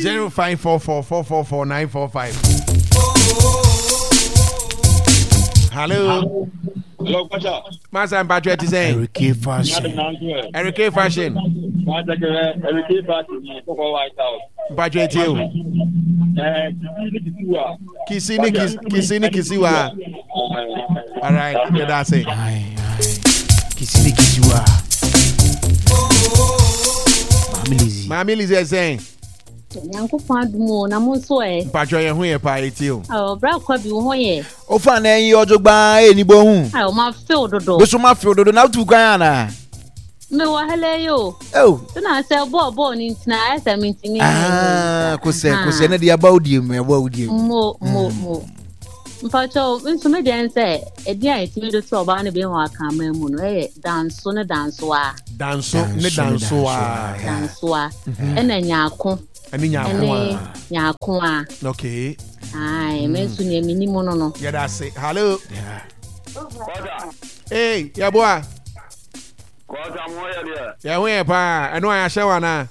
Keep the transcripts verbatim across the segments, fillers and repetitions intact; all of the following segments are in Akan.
Zero five four four four four four nine four five. Hello. Hello, Kwacha. Masa mpatwa ti sɛn? Eric Fashion. Eric Fashion. Eric Fashion. Kɔkɔ White House. Mpatwa ti o. Kisi ni kisi kisi ni kisi wa. All right, yɛda ase. Kisi ni kisi wa. Maame Lizzy. Maame Lizzy ɛsɛn. Nyankopɔn adom o na mo nso ɛ. Mpatwa yɛn ho yɛ paa eti o. Ɔ bra kwa bi wo ho yɛ. Ofa na ɛyi ɔdwo gbaa ɛni bɔ hu. Ayo ma few dodo. Beso ma few dodo na tu kwan ana. Me wɔ hele yo. Oh. Tena sɛ bɔɔ bɔɔ ni ntina ayɛ sɛ mintimi. Ah, kosɛ kosɛ na de aba odie mu ɛbɔ odie mu. Mo mo mo. Mpatwa nso me deɛ sɛ ɛdi a yɛtumi de to ɔbaa no bi ho akanman mu no ɛyɛ danso ne dansoa. Danso ne dansoa. Dansoa. Ɛna nyaako. Ɛne nyaako a. Nyaako a. Okay. Ayi, me nso nea mi nim no no. Yɛda ase. Hello. Hey, yɛboa. Kɔɔta mo yɛ deɛ. Yɛn ho yɛ paa. Ɛno a yɛahyɛ wa naa.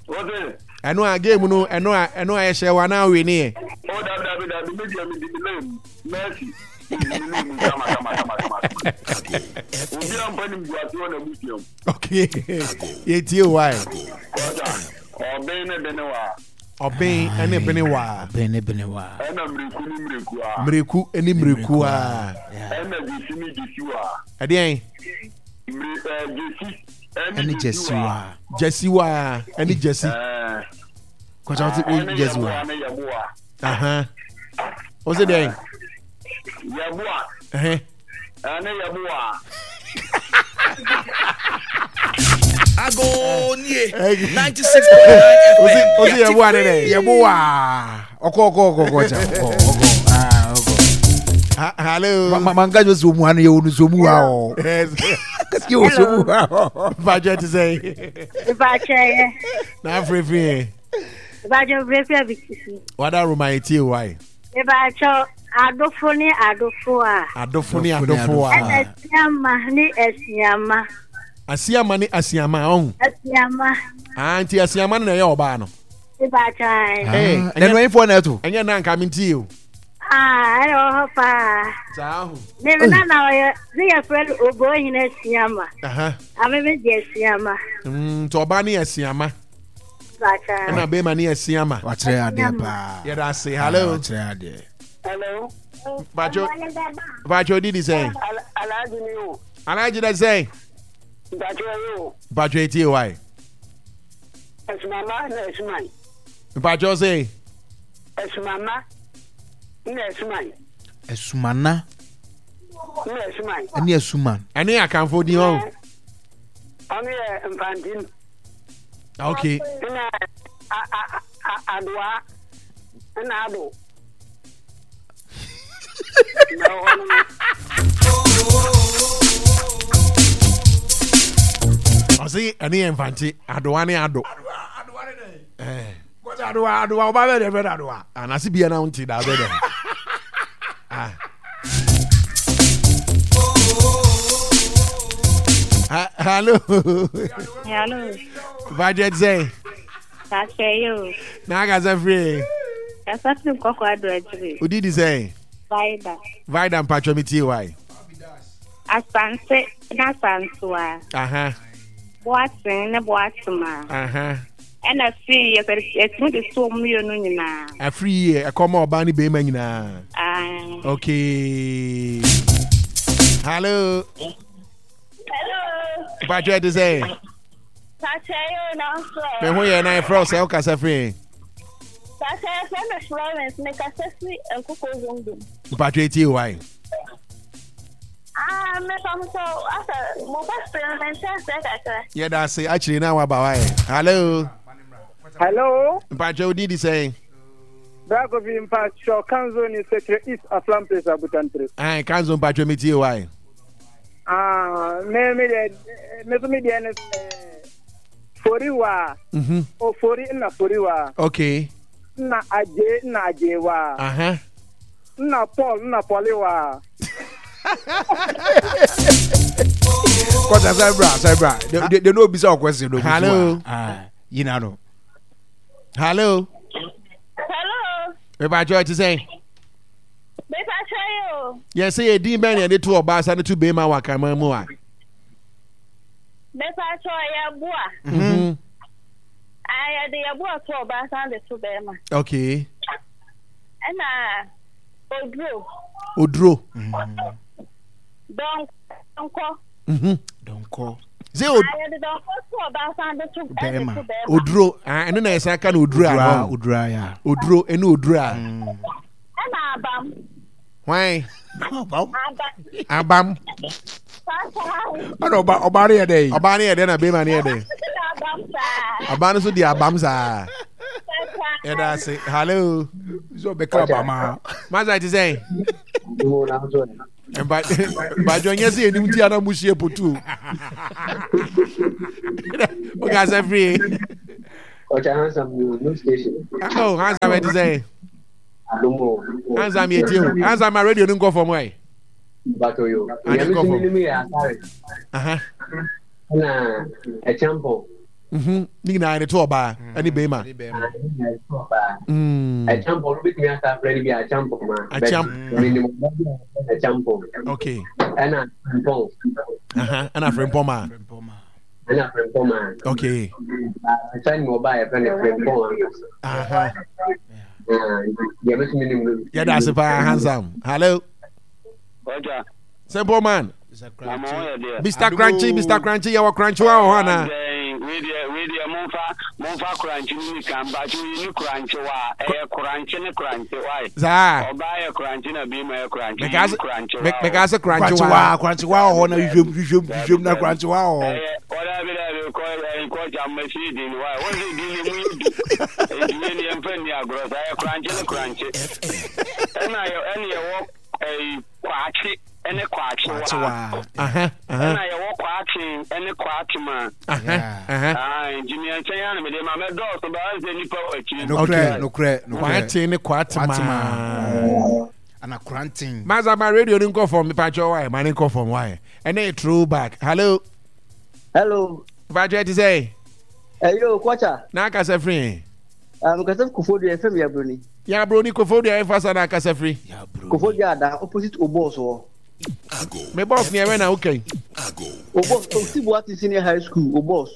Wote. Ɛno a game no ɛno a ɛno a yɛhyɛ wa naa we ne yɛ. O dabi dabi dabi mi deɛ mi di mi lane Mercy mi di mi lane mu kama kama kama kama. Obi a mpa nim guase wɔ n'abusua mu. Okay. Yɛtie o wae. Kɔɔta ɔbɛn ne bene wa. Ɔbɛn ne bene wa. Ɔbɛn ne bene wa. Ɛna mmireku ne mmireku a. Mmireku ne mmireku a. Ɛna gyesi ne gyesi wa. Ɛdeɛn. Mmire ɛɛ gyesi. Ɛne gyesi wa. Gyesi wa ɛne gyesi. Kɔsa wote wo gyesi wa. Aha. Ɔsɛ dɛn. Yɛboa. Ɛhɛn. Ɛne yɛboa. Agonie ninety six point nine F M. Osi yɛboa ne dɛ. Yɛboa. Ɔkɔ ɔkɔ ɔkɔ ɔkɔ kyɛ ɔkɔ ɔkɔ aa ɔkɔ. Hello. Ma ma nka jɔ somu ha no yɛ wonu somu ha o. Kasi yɛ wɔ somu ha o. Mpatsɛ ti sɛ. Mpatsɛ yɛ. Na afirifiri yɛ. Mpatsɛ afirifiri abitisi. Wada Roma etie wa yi. Mpatsɛ adofo ne adofo a. Adofo ne adofo a. Ɛna asiama ne asiama. Asiama ne asiama ɔn. Asiama. Aa nti asiama no na ɛyɛ ɔbaa no. Mpatsɛ. Ee ɛnu ɛyinfoɔ na ɛto. Ɛnyɛ nan ka mi nti o. Ah, ɛyɛ wɔ hɔ paa. Saa ho. Ne me nana ɔyɛ ne yɛ frɛ no Obohene Asiama. Ame me de Asiama. Mm, nti ɔbaa ne yɛ Asiama. Mpatsɛ. Ɛna bɛrima ne yɛ Asiama. Wakyerɛ adeɛ paa. Yɛda ase. Hello. Wakyerɛ adeɛ. Hello. Mpatsɛ mpatsɛ odi di sɛn. Alhaji ni o. Alhaji dɛ sɛn. Mpatsɛ ɔyɛ o. Mpatsɛ etie wa yi. Ɛsumama na ɛsuman. Mpatsɛ ɔsɛ. Ɛsumama na ɛsuman. Ɛsumana. Na ɛsuman. Ɛne ɛsuman. Ɛne akanfo din hɔ. Ɔno yɛ mfantim. Okay. Ɛna adoa ɛna ado. Ɔsi ɛne yɛ mfante adoa ne ado. Kɔsa adoa adoa ɔba bɛ de fɛ adoa. Anase bia na nti da bɛ dɛ. Ah. Hello. Hello. Budget sɛ. Sasɛ yo. Na akasa firi. Kasa firi nkɔkɔ ado akyire. Odi di sɛ. Vida. Vida mpatwa mi tie wae. Asante na asantewa. Aha. Boaten ne boatema. Aha. Ɛna firi yɛ yɛtumi de so mmienu nyinaa. Afiri yie ɛkɔm a ɔbaa ne bɛrima nyinaa. Aye. Okay. Hello. Hello. Mpatwa ti sɛ. Sasɛ yo na nso. Me ho yɛ na efrɛ sɛ wokasa firi. Sasɛ yɛfrɛ me Florence mekasa firi Nkoko Zongo. Mpatwa etie wae. Ah, mepa mo sɛ asɛ mo question mente aseɛ kakra. Yɛda ase akyire na waba wae. Hello. Hello. Mpatwa odi di sɛn. Brakofi mpatwa Kanzo ni Sekyere East Aflam Place Abutantere. Ayi Kanzo mpatwa mi tie wae. Ah, me me de me so me de ne foriwa. Mhm. Ofori na foriwa. Okay. Na aje na ajewa. Aha. Na Paul na Poliwa. Kɔsa sɛ bra sɛ bra. They they no bisa question no. Hello. Ah, yina no. Hello. Hello. Mepa kyɛw ti sɛn? Mepa kyɛw yo. Yɛsɛ yɛ din bɛn na yɛde to ɔbaa sa ne to bɛrima wɔ akraman mu a? Mepa kyɛw yɛ boa. Mhm. Ah, yɛde yɛ boa to ɔbaa san de to bɛrima. Okay. Ɛna oduro. Oduro. Dɔnkɔ. Mhm. Dɔnkɔ. Sɛ o. Ah, yɛde dɔnkɔ to ɔbaa san de to bɛrima. Oduro. Ah, ɛno na yɛsan ka no oduro a. Oduro ya. Oduro ɛne oduro a. Ɛna abam. Hwan? Abam. Abam. Ɛna ɔba ɔbaa no yɛ dɛ. Ɔbaa no yɛ dɛ na bɛrima no yɛ dɛ. Ɔbaa no nso di abam saa. Yɛda ase. Hello. Sɛ ɔbɛka abam a. Masa ti sɛn? Mpatwɔ nyɛ sɛ yɛnim ti ana mu hyia potu o. Woka sɛ firi. Ɔkyɛ handsome new station. Oh, handsome ɛte sɛn? Handsome yɛ tie o. Handsome ma radio no nkɔ fam ɛ. Bato yo. Ade nkɔ fam. Nyame yɛ asare. Aha. Na ɛkyampɔn. Mhm. Ne nyinaa yɛde to ɔbaa ɛne bɛrima. Ɛkyampɔn no bitumi asa afrɛ no bi akyampɔn ma. Akyamp. Menim ɔbaa bi a ɛkyampɔn. Okay. Ɛna frempɔn. Aha. Ɛna frempɔn ma. Ɛna frempɔn ma. Okay. Ɛsɛ ni ɔbaa yɛfrɛ no frempɔn ankasa. Aha. Yɛda ase paa handsome. Hello. Ọjà. Simple man. Mister Crunchy, Mister Crunchy, yɛwɔ Crunchy wa wɔ hɔ anaa? Wei deɛ momfa momfa crunchy no ni kan baakye oyi ni crunchy wa ɛyɛ crunchy ne crunchy wa. Saa. Ɔbaa yɛ crunchy na bɛrima yɛ crunchy. Yi ni crunchy wa. Mɛka sɛ crunchy wa. Crunchy wa wɔ hɔ na hwehwɛm hwehwɛm hwehwɛm na crunchy wa wɔ hɔ. Ɛyɛ ɔda bi da bi kɔ ɛyi kɔ gya mmasi di ni wa wɔn sɛ di ni mu yɛ du edi yɛ ni yɛn fɛ ni agorɔ saa yɛ crunchy ne crunchy. Ɛna yɛ ɛna yɛ wɔ ɛyi kwakye. Ɛne kwakyewa ɛna yɛwɔ kwakye ɛne kwakyema nti mmiɛnsa yi ana mede ma mɛdɔɔso ba sɛ nnipa wɔ akyiri. Nokorɛ nokorɛ nokorɛ. Kwakye ne kwatema ana kranten. Maza ma radio no nkɔ fam mepakyɛ wae ma ne nkɔ fam wae ɛne yɛ throwback. Hello. Hello. Mepakyɛ te sɛ. Ɛyo kɔcha. Na akasa firi. Mekasa Koforidua yɛfrɛ me Yabroni. Yabroni Koforidua ɛfa sa na akasa firi. Koforidua ada opposite Obos hɔ. Me boss ni ɛwɛ na woka yi. Obos Otibuasi Senior High School Obos.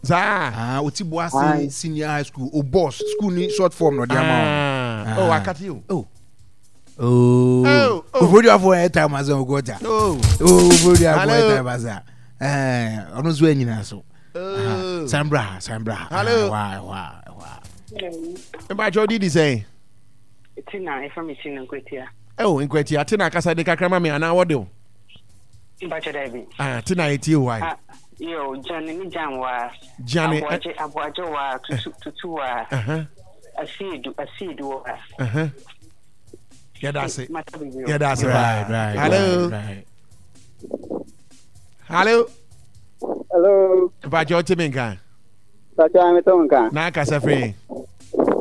Saa. Ah, Otibuasi Senior High School Obos school ni short form na ɔde ama o. Oh, akati o. Oh. Oh. Koforidua fo ɛ time asa o gɔta. Oh. Oh Koforidua fo ɛ time asa. Ɛɛ ɔno nso ɛnyina so. San bra ha, san bra ha. Hello. Wa wa wa. Mbacho didi sɛn? Tina, ɛfrɛ me Tina Nkwatia. Oh, Nkwatia, Tina kasa de kakra ma me anaa wɔde o. Mbacho dabi. Ah, Tina etie o ai. Ah, yo, Jane ni Jan wa. Jane. Aboagye, aboagye wa, tutu, tutu wa. Uh-huh. Asiedu, asiedu wa. Uh-huh. Yɛda ase. Yɛda ase. Right, right. Hello. Right. Hello. Hello. Mbacho ɔte me nka. Mbacho ame to nka. Na akasa firi.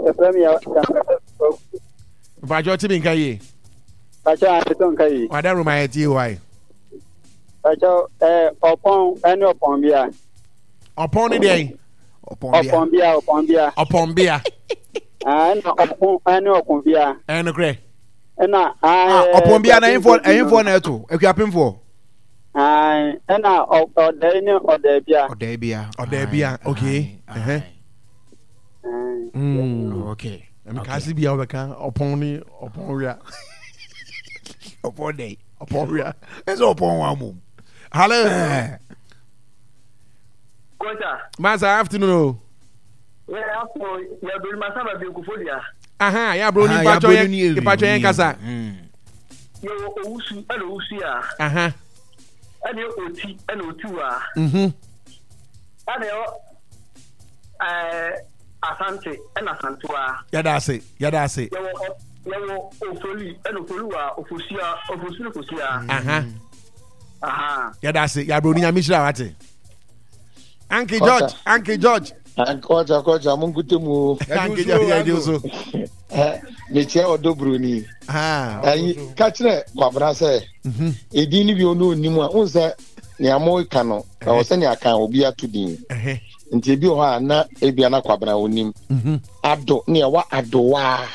Efrɛ mi ya. Mbacho ɔte me nka yie. Mbacho ame to nka yie. Wada roma yɛ tie wa yi. Mbacho ɛɛ ɔpɔn ɛne ɔpɔn bia. Ɔpɔn ne deɛ. Ɔpɔn bia ɔpɔn bia. Ɔpɔn bia. Ɛna ɔpɔn ɛne ɔpɔn bia. Ɛyɛ nokorɛ. Ɛna. Ɔpɔn bia na ɛyinfoɔ ɛyinfoɔ na ɛto ekuapemfoɔ. Ɛna ɔdɛɛ ne ɔdɛɛ bia. Ɔdɛɛ bia. Ɔdɛɛ bia okay. Mm. Okay. Ɛmi kaasi bia ɔbɛka ɔpɔn ne ɔpɔn wia. Ɔpɔn dɛ. Ɔpɔn wia. Ɛsɛ ɔpɔn wa mu. Hello. Kɔta. Masa afternoon o. Yɛ afternoon yɛ abironi masa ba bi Koforidua. Aha yɛ aburoni mpatwɔ yɛ mpatwɔ yɛn kasa. Yɛ wɔ owusu ɛna owusu ya. Aha. Ɛna oti ɛna oti wa. Mhm. Ɛna yɛ ɛɛ asante ɛna asantewa. Yɛda ase yɛda ase. Yɛ wɔ yɛ wɔ ofoli ɛna ofoli wa ofosia ofosu ne fosia. Aha. Aha. Yɛda ase yɛ aburoni nyame hyira wate. Uncle George, Uncle George. Kɔcha kɔcha mo nkute mu o. Uncle George yɛ di so. Mekyia ɔdɔ buroni. Ɛyi ka kyerɛ Kwabena sɛ edin ni bi ɔno onim a n sɛ Nea mo ka no ɛwɔ sɛ nea kan obi ato din nti ebi wɔ hɔ a na ebia na Kwabena onim ado ne ɛwɔ adowaa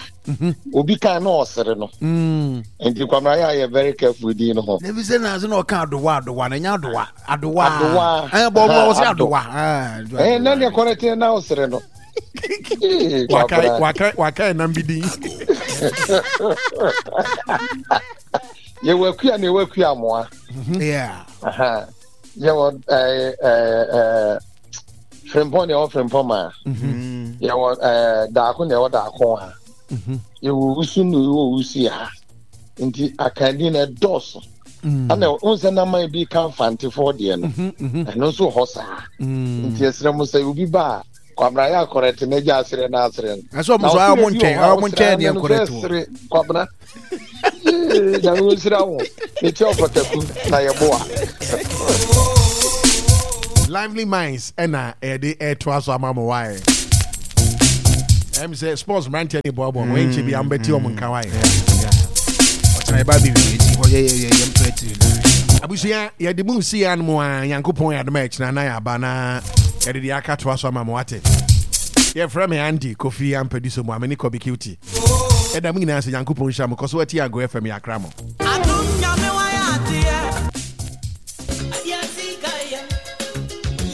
obi kan na ɔsere no nti Kwabena yɛ ayɛ very careful din no ho. Ebi sɛ na na ɔka adowa adowa na nya adowa adowa. Adowa. Ɛɛ bɔ ɔmo ɔsɛ Ado. adowa. Ɛɛ ɛɛ na deɛ kɔrɛte na ɔsere no. Ee, waka Kwabena. Waka waka ɛnam bi din. Yɛwɔ akua na yɛwɔ akua amoa. Yeah. Aha. Yɛwɔ ɛɛ ɛɛ ɛɛ frimpɔn na yɛwɔ frimpɔn ma. Yɛwɔ ɛɛ daako na yɛwɔ daako a. Yɛwɔ wusu na yɛwɔ wusu ha. Nti akandi na ɛdɔɔso. Ɛna n sɛ naman bi ka mfantefoɔ deɛ no, ɛno nso wɔ hɔ saa. Nti ɛsrɛ mo sɛ obi ba a, Kwabena yɛ akɔrɛte na gya asere na asere no. Ɛsɛ ɔmo so ayɛ ɔmo nkyɛn ɔmo nkyɛn deɛ nkɔrɛte wɔ. Sere Kwabena. Yee, Nyame wo nhyira wo. Mekyɛ ɔpɔtaku na yɛboa. Lively Minds ɛna ɛde ɛtoa so ama mo wae. Ɛm sɛ sports mmeranteɛ ne boaboa mo ɛnkyɛ bi ambɛte ɔmo nka wae. Ɔkyerɛ ɛba bi wi eti hɔ yɛ yɛ yɛ yɛ mpɛ tiri na. Abusua, yɛde mu si ya no mu a Nyankopɔn yɛ adom a ɛkyena na yɛaba na yɛde deɛ aka toa so ama mo wate. Yɛfrɛ me Andy Kofi Ampadu so mu a me ne Kɔbi Cutie. Ɛda mu nyinaa sɛ Nyankopɔn nhyira mo kɔ so ati Ago F M yɛakra mo. Adum Nyame wayɛ adeɛ. Adeɛ ati ka yɛ.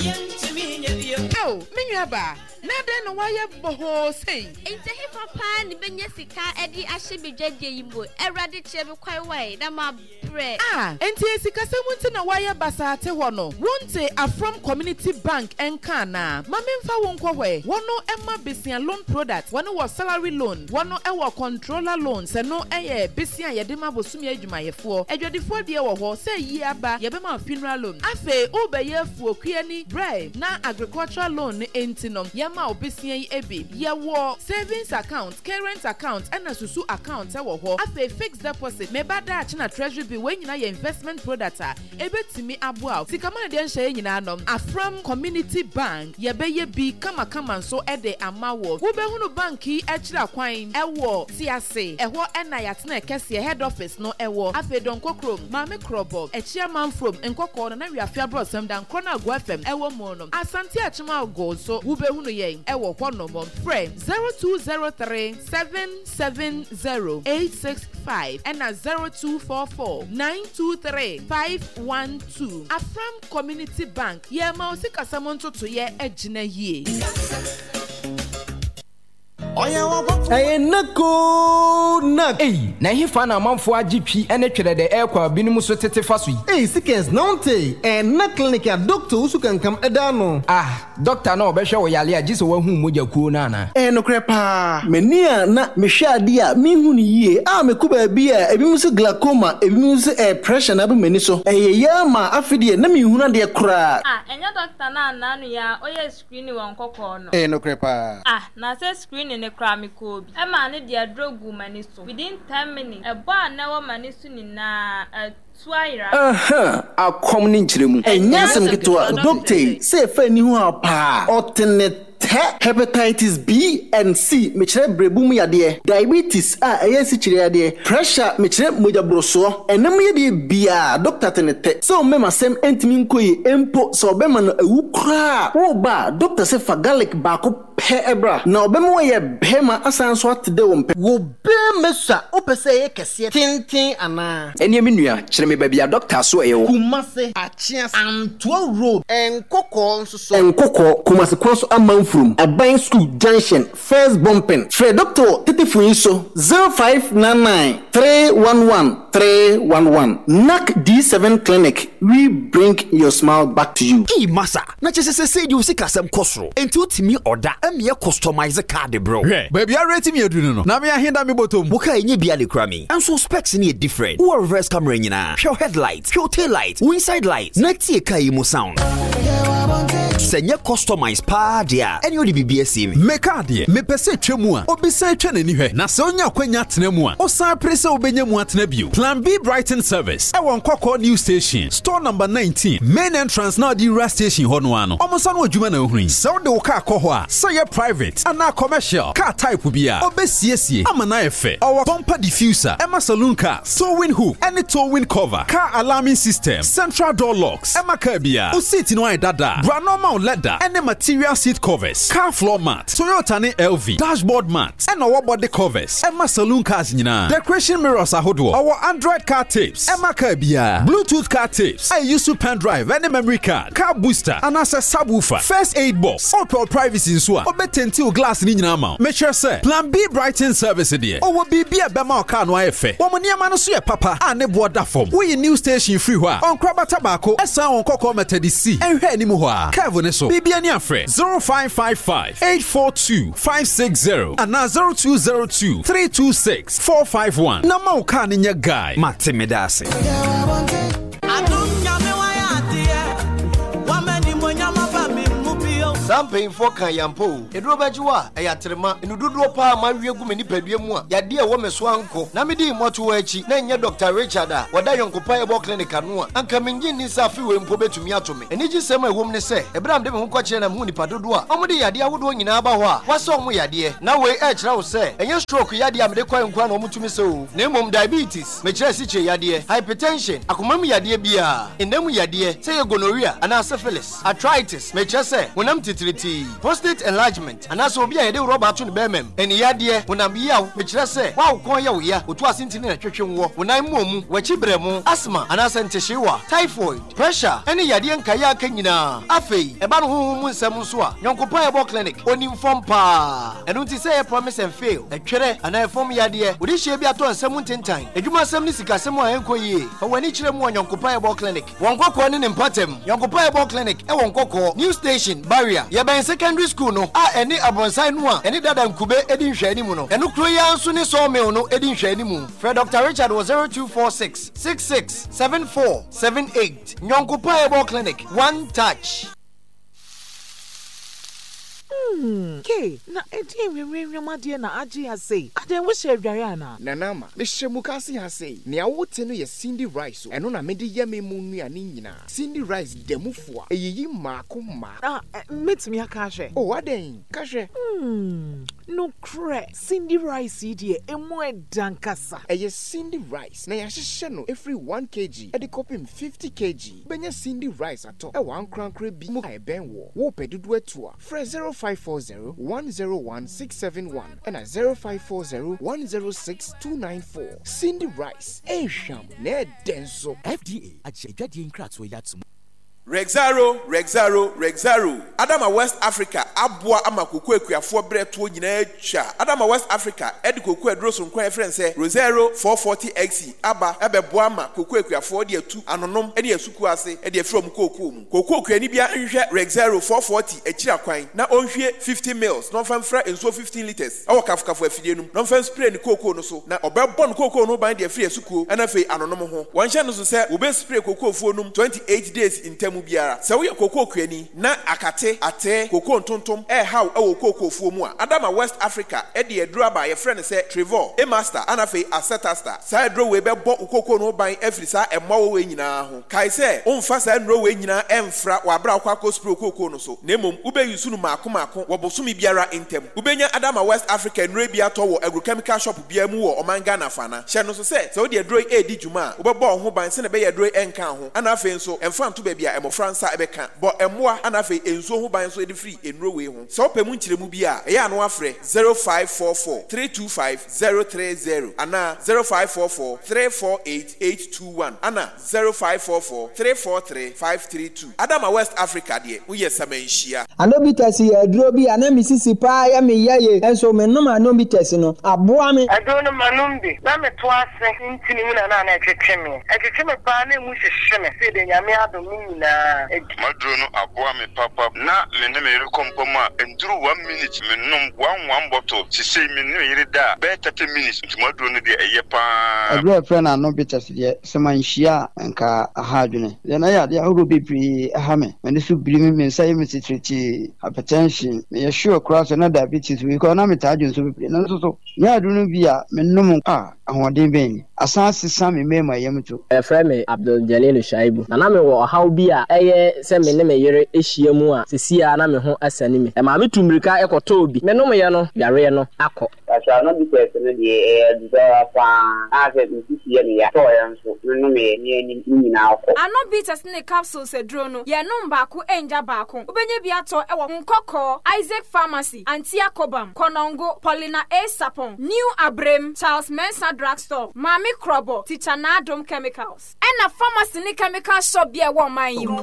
Yɛntumi nyɛ bio. Ao, me nua baa, na dɛn na woayɛ bɔhɔɔ sei? Enti ɛhefa paa ne bɛnya sika de ahyɛ me dwadie yi mu? Awurade kyerɛ me kwan wae na mabrɛ. A, enti esikasɛm nti na woayɛ basaa te hɔ no? Wonte Afram Community Bank nka anaa? Ma memfa wo nkɔ hɔ ɛ. Wɔno ɛma besia loan product, wɔno wɔ salary loan, wɔno ɛwɔ controller loan, sɛ no ɛyɛ besia a yɛde ma bosome adwumayɛfoɔ. Adwadifoɔ deɛ wɔ hɔ, sɛ yie aba, yɛbɛma wo funeral loan. Afei, wobɛyɛ afuo kuani, brɛ na agricultural loan no enti no, yɛma wo besia yi ebi. Yɛwɔ savings account, current account, ɛna susu account ɛwɔ hɔ. Afei, fixed deposit, meba daakye na treasury bill, wei nyinaa yɛ investment product a ebetumi aboa wo. Sika ma deɛ nhyɛ yɛ nyinaa no, Afram Community Bank, yɛbɛyɛ bi kamakama nso ɛde ama wo. Wobɛhunu bank yi akyiri akwan ɛwɔ Tiase, ɛhɔ ɛna yɛatena kɛseɛ head office no ɛwɔ. Afei, Dɔnkɔ kurom, Maame Korɔbɔ, Akyia Manfrom, Nkɔkɔɔ no na Wiafe Aborɔsɛm da nkorɔ no Agoa F M ɛwɔ mu no. Asante Akyem Ago nso wobɛhunu yɛn ɛwɔ hɔnom. Frɛ zero two zero three seven seven zero eight six five ɛna zero two four four nine two three five one two. Afram Community Bank, yɛma wo sikasɛm ntotoyɛ agyina yie. Ɛyɛ nako nak. Ei, na ɛhefa na amanfoɔ agye twi ne twerɛ dɛ ɛrekɔ a binom so tete fa so yi? Ei, Sikens, na wonte ɛna clinic a Doctor Wusu Kankam ɛda no? Ah, doctor na ɔbɛhwɛ wo yale a gye sɛ woahu mogya kuo no anaa? Ɛyɛ nokorɛ paa. M'ani a na mehwɛ adeɛ a menhu no yie a mekɔ baabi a ebinom sɛ glaucoma, ebinom sɛ ɛyɛ pressure na aba m'ani so. Ɛyɛ yɛ ama afe deɛ na menhunu adeɛ koraa. Ah, ɛnyɛ doctor no anaa no yɛ a ɔyɛ screening wɔ Nkɔkɔɔ no? Ɛyɛ nokorɛ paa. Ah, na sɛ screening ne koraa mekɔɔ bi. Ɛmaa ne deɛ aduro guu m'ani so. Within ten minutes, ɛbɔ a na ɛwɔ m'ani so nyinaa atu ayera. Aha, akɔm ne nkyerɛmu. Ɛnyɛ asɛm ketewa, doctor yi sɛ ɛfa ani ho a paa ɔte ne tɛ. Hepatitis B and C, mekyerɛ berebu mu yadeɛ, diabetes a ɛyɛ asikyire yadeɛ, pressure, mekyerɛ mogyaborosoɔ, ɛnam yadeɛ biaa doctor te ne tɛ. Sɛ ɔmmɛma asɛm ntumi nkɔ yie mpo sɛ ɔbɛma no awu koraa woba a, doctor sɛ fa garlic baako pɛ ɛbra na ɔbɛma wɔyɛ bɛrima asan so ate dɛ wɔ mpɛ. Wo bɛrima su a wopɛ sɛ ɛyɛ kɛseɛ tenten anaa? Ɛneɛ me nua, kyerɛ me baabi a doctor so ɛyɛ wɔ. Kumase, Akyea, Antoa Road, Nkɔkɔɔ nso so. Nkɔkɔɔ, Kumase kwan so Amanfurom, Aban School Junction, First Bumping. Frɛ doctor wɔ tetefo yi so zero five nine nine three one one three one one. N A C D seven Clinic, we bring your smile back to you. Ei masa, na kyerɛ sɛ sɛsei deɛ wo sikasɛm kɔ soro enti wotumi ɔda ɛmeɛ customize card brɛ. Hwɛ baabi ara timi aduru no no na me ahenda me bɔtɔm. Wo car ɛnyɛ bia ne kura mi ɛnso specs no yɛ different. Wowɔ reverse camera nyinaa, hwɛ wo headlight, hwɛ wo tail light, wo inside light, na tie car yi mu sound. Sɛ nyɛ customize paa deɛ a, ɛne wode biribi asie me. Me kaa deɛ, mepɛ sɛ twa mu a, obi san twa n'ani hwɛ. Na sɛ onya akwanya atena mu a, osan pere sɛ wobɛnya mu atena bio. Plan B Brighton Service, ɛwɔ Nkɔkɔɔ New Station, store number nineteen, main entrance na ɔde wura station hɔ no ano. Ɔmo nsa no adwuma na ohun yi. Sɛ wode wo kaa kɔ hɔ a, sɛ yɛ private anaa commercial, car type bi a, obesiesie ama na ayɛ fɛ. Ɔwɔ bumper diffuser, ɛma saloon cars, towing hook, ɛne towing cover, car alarming system, central door locks, ɛma car bia. O seat no ayɛ dada, bra normal leather, ɛne material seat covers, car floor mat, Toyota ne L V, dashboard mat, ɛna ɔwɔ body covers, ɛma saloon cars nyinaa. Decoration mirrors ahodoɔ, ɔwɔ Android car tapes, ɛma car bia. Bluetooth car tapes, ɛyɛ use pen drive ɛne memory card, car booster, anaasɛ subwoofer, first aid box. Ɔpɛ privacy nso a, ɔbɛtint wo glass ne nyinaa ma wo. Mekyerɛ sɛ, Plan B Brighton Service deɛ, ɔwɔ biribi a ɛbɛma wo car no ayɛ fɛ. Wɔn nneɛma no so yɛ papa a ne boɔ da fam. Woyi New Station firi hɔ a, ɔnkorabata baako ɛsan wɔn kɔkɔɔ Methodist C ɛnhwɛ anim hɔ a, curve ne so. Biribi ani afrɛ zero five five five eight four two five six zero anaa zero two zero two three two six four five one na ma wo car no nyɛ guy. Mate, meda ase. Adom Nyame wayɛ adeɛ wamani monyama ba me mu bio. Saa mpanyimfoɔ ka yampa o, ɛduro bɛgye wo a ɛyɛ aterema enu dodoɔ paa ma awie gu me nipadua mu a yadeɛ a ɛwɔ me so ankɔ na mede mmɔto akyi na ɛnyɛ Doctor Richard a wɔda Yɔnkopa Herbal Clinic ano a, anka mengye nni sɛ afe wei mpo bɛtumi ato me. Anigye sɛm a ɛwɔ mu ne sɛ, ɛberɛ a mede me ho kɔkyerɛ na mehu nipa dodoɔ a ɔmode yadeɛ ahodoɔ nyinaa ba hɔ a wɔasɛ ɔmo yadeɛ, na wei ɛkyerɛ wo sɛ ɛnyɛ stroke yadeɛ a mede kɔɛ nkoa na ɔmotumi sɛ o, na mmom diabetes, mekyerɛ asikyire yadeɛ, hypertension, akoma mu yadeɛ biara, ɛnam mu yadeɛ sɛ yɛ gonorrhea anaa syphilis, arthritis, mekyerɛ sɛ honam titiritii, prostate enlargement, anaasɛ obi a yɛde rɔba ato ne bɛrima mu, ɛne yadeɛ, honam yaw, mekyerɛ sɛ woawo kɔn yɛ wo ya, otu ase ntini na twetwe woɔ, wo nan mmɔ mu, w'akyi brɛ mu, asthma anaasɛ ntehyeewa, typhoid, pressure, ɛne yadeɛ nkaeɛ aka nyinaa. Afei ɛba no honhom mu nsɛm nso a, Yɔnkopa Herbal Clinic onim fam paa. Ɛno nti sɛ ɛyɛ promise and fail, ɛtwerɛ anaa ɛfam yadeɛ, wode hyia bi atɔ nsɛm ntentan, adwumasɛm ne sikasɛm a ɛnkɔ yie, fa w'ani kyerɛ mu wɔ Yɔnkopa Herbal Clinic. Wɔn Nkɔkɔɔ ne ne mpatam. Yɔnkopa Herbal Clinic ɛwɔ Nkɔkɔɔ New Station Barrier, yɛbɛn secondary school no a ɛne abrɔnsan no a ɛne dada nkube edi nhwɛanimu no. Ɛno kuro yi ara nso ne sawmill no edi nhwɛanimu. Frɛ Doctor Richard wɔ zero two four six six six seven four seven eight. Yɔnkopa Herbal Clinic, one touch. Hmm, ke na ɛdeɛ nwinwinwim adeɛ na agye ha sei? Adeɛ wohyɛ adware anaa? Nana Ama, mehyɛ mu kase ha sei. Nea wote no yɛ Cindy rice o. Ɛno na mede yɛ me mu nnuane nyinaa. Cindy rice da mu fo a ɛyiyi mmaako mmaako. Ah, mɛtumi aka ahwɛ? O, adɛn, ka hwɛ. Hmm, nokorɛ, Cindy rice yi deɛ, emu ɛda nkasa. Ɛyɛ Cindy rice na yɛahyehyɛ no ɛfiri one kilogram ɛde kɔpem fifty kilograms. Bɛnya Cindy rice atɔ ɛwɔ ankorankora bi mu a ɛbɛn wɔ. Wopɛ dodoɔ atu a, frɛ zero five four zero one zero one six seven one ɛna zero five four zero one zero six two nine four. Cindy rice, ɛhwam na ɛdɛ nso. F D A agye adwadeɛ nkratoɔ yi ato mu. Rexaro, Rexaro, Rexaro! Adama West Africa aboa ama koko akuafoɔ berɛ toɔ nyinaa atwa. Adama West Africa ɛde koko aduro soronko a yɛfrɛ no sɛ Rosero four forty X aba ɛbɛboa ama koko akuafoɔ de atu anonom ne asukuo ase de afiri ɔmo kookoo mu. Koko kuani bia nhwehwɛ Rexero four forty akyiri akwan na ɔnhwie fifty mils na ɔmfa mfra nsuo fifteen litres ɛwɔ kafokafo afidie no mu na ɔmfa nspray ne kookoo no so, na ɔbɛbɔ no kookoo no ban de afiri asukuo ɛna afei anonom ho. Wɔnhyɛ no so sɛ wɔbɛspray kokoofuo nom twenty-eight days ntam biara. Sɛ woyɛ kokoo kuani na akate atee kokoo ntontom ɛɛhaw ɛwɔ kokoofuo mu a, Adama West Africa ɛde aduro aba a yɛfrɛ no sɛ Trevor, Emaster, ana afei Acetasta. Saa aduro wei bɛbɔ wo kokoo no ho ban afiri saa ɛmmoawa wei nyinaa ho. Kae sɛ womfa saa nnuro wei nyinaa ɛmfra wɔ abere a wokɔ akɔ spray kookoo no so, na mmom wobɛyi no maako maako wɔ bosome biara ntam. Wobɛnya Adama West Africa nnuro bi atɔ wɔ agrochemical shop biara mu wɔ ɔman Ghana fana. Hyɛ no so sɛ sɛ wode aduro yi ɛredi dwuma a, wobɛbɔ wo ho ban sɛne ɛbɛyɛ aduro yi ɛnka ho, ana afei nso ɛmfa nto baabi a mmɔfra nsa ɛbɛka. Bɔ mmoa ana afei nsuo ho ban nso de firi nnuro wei ho. Sɛ wopɛ mu nkyerɛmu bi a, ɛyɛ ano afrɛ zero five four four three two five zero three zero anaa zero five four four three four eight eight two one ana zero five four four three four three five three two. Adama West Africa deɛ, woyɛ samanhyia. Anobites yɛ aduro bi a na me sisi paa yɛ me yɛ ye, nso menom Anobites no aboa me. Aduro no manom bi na meto ase ntini mu na na na ɛtwetwe me ɛtwetwe me paa na emu hyehye me sɛ de Nyame adom ne nyinaa. nyinaa. Maduro no aboa me papa na me ne me yere kɔ mpa mu a ɛnduru one minute menom one one bottle sesei me ne me yere da a bɛyɛ thirty minutes nti maduro no deɛ ɛyɛ paa. Aduru a yɛfrɛ no ano bitters deɛ, sɛ manhyia a anka aha adwene. Deɛ na ɛyɛ adeɛ ahorow bebree ɛha me. M'ani so biri me, me nsa yɛ me titiritii, hypertension. Meyɛ sure koraa sɛ na diabetes wɔ because na metaa dwo nso bebree. Nanso so nyɛ aduru no bi a menom a ahoɔden bɛn ni. Asan asesa me mmarima yam to. Yɛfrɛ me Abdul Jalilu Shaibu, na na mewɔ ɔhaw bi a ɛyɛ sɛ me ne me yere hyia mu a, seesei ara na me ho asane me. Ɛmaa metu mmirika kɔtɔɔ bi. Menomeeɛ no, yareɛ no akɔ. Pastor no bitters no deɛ ɛyɛ aduru paa a sɛ me sisi yɛ me ya tɔɔyɛ nso me nomeɛ ne anim ne nyinaa kɔ. Ano bitters ne capsules aduro no, yɛnom baako ngya baako. Wobɛnya bi atɔ wɔ Nkɔkɔɔ, Isaac Pharmacy, Antia Kobam, Konongo, Paulina A. Sapon, New Abrem, Charles Mensah Drugstore, Maame Krobo, Teacher Naadom Chemicals. Ɛna pharmacy ne chemical shop bi a ɛwɔ ɔman yi mu.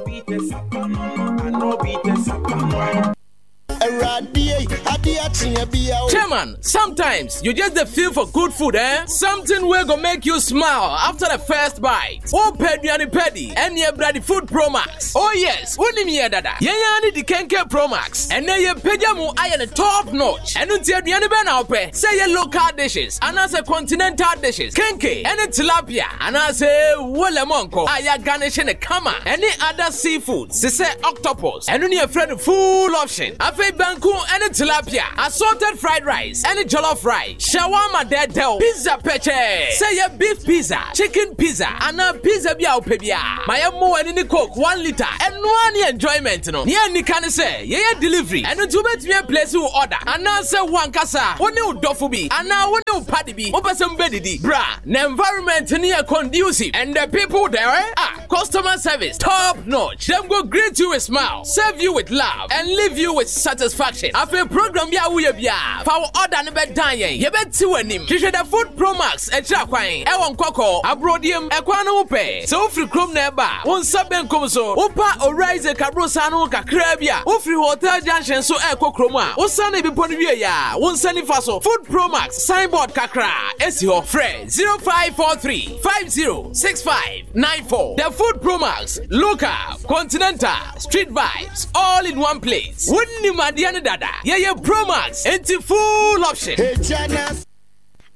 Chairman, sometimes you just dey feel for good food, eh? Something wey go make you smile after the first bite. Oh, aduane pɛdi, ɛne ɛbrɛ Food Pro Max. Oh yes, wonim yɛ dada. Yɛn ara ne di Kenke Pro Max. Ɛnɛ yɛ pagya mu ayɛ ne top notch. Ɛno nti aduane bɛn na wopɛ? Sɛ yɛ local dishes anaasɛ continental dishes. Kenke ɛne tilapia anaasɛ wolemɔnkɔ a yɛagarnish ne kama ɛne other seafoods te sɛ octopus. Ɛno ne yɛfrɛ no full option. Afei banku ɛne tilapia, assorted fried rice ɛne jollof rice, shawarma dɛdɛw, pizza pɛkyɛ. Sɛ yɛ beef pizza, chicken pizza anaa pizza bi a wopɛ biara. Ma yɛmmɔ w'ani ne coke one litre. Ɛnoa ne enjoyment no. Nea nika ne sɛ yɛyɛ delivery. Ɛno nti wobɛtumi aplace wo order anaasɛ wo ankasa wo ne wo dɔfo bi anaa wo ne wo party bi wopɛ sɛ mobɛdidi. Bra na environment no yɛ conducive and the people there ah customer service top notch. Them go greet you with smile, serve you with love and leave you with satisfaction. Afei program bi a woyɛ biara fa wo order no bɛdan yɛn. Yɛbɛti w'anim. Hwehwɛ the Food Pro Max akyiri akwan ɛwɔ Nkɔkɔ aburodiem ɛkwan no ho pɛ. Sɛ wofiri kurom na ɛba a, wo nsa benkum so. Wopa Owura Isaac Aborosan no ho kakraa bi a, wofiri Hotel Junction so ɛrekɔ kurom a, wosane bepɔ no wie a, wo nsa nifa so. Food Pro Max signboard kakra esi hɔ. Frɛ zero five four three five zero six five nine four. The Food Pro Max, local, continental, street vibes, all in one place. Wonnim adeɛ no dada. Yɛyɛ Pro Max, enti full option.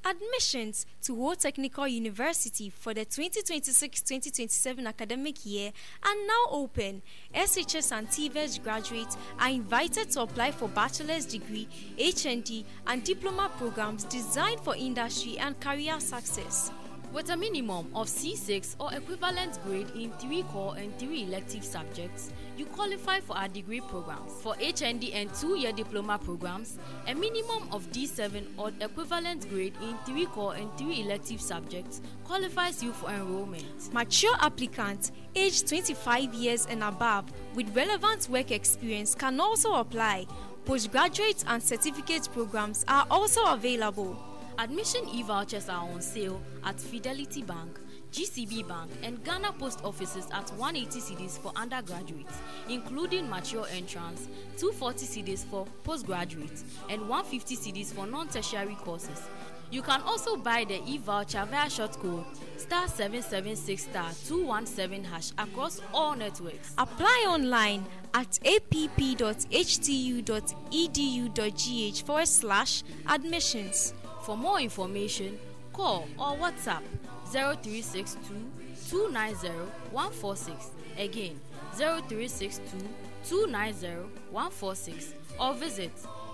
Admissions to Ho Technical University for the twenty twenty-six twenty twenty-seven academic year are now open. S H S and T V E T graduates are invited to apply for bachelor's degree, H N D, and diploma programs designed for industry and career success. With a minimum of C six or equivalent grade in three core and three elective subjects, you qualify for our degree programs. For H N D and two-year diploma programs, a minimum of D seven or equivalent grade in three core and three elective subjects qualifies you for enrollment. Mature applicants aged twenty-five years and above with relevant work experience can also apply. Postgraduate and certificate programs are also available. Admission e-vouchers are on sale at Fidelity Bank, G C B Bank, and Ghana Post Offices at one hundred eighty cedis for undergraduates, including mature entrants, two hundred forty cedis for postgraduates, and one hundred fifty cedis for non-tertiary courses. You can also buy the e-voucher via short code star seven seven six star two one seven hash across all networks. Apply online at A P P dot H T U dot edu dot G H forward slash admissions. For more information, call or WhatsApp zero three six two two nine zero one four six. Again, zero three six two two nine zero one four six or visit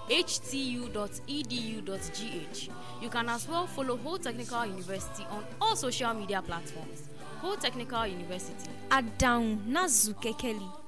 H T U dot edu dot G H. You can as well follow Ho Technical University on all social media platforms. Ho Technical University. Adown Nazu Kekeli.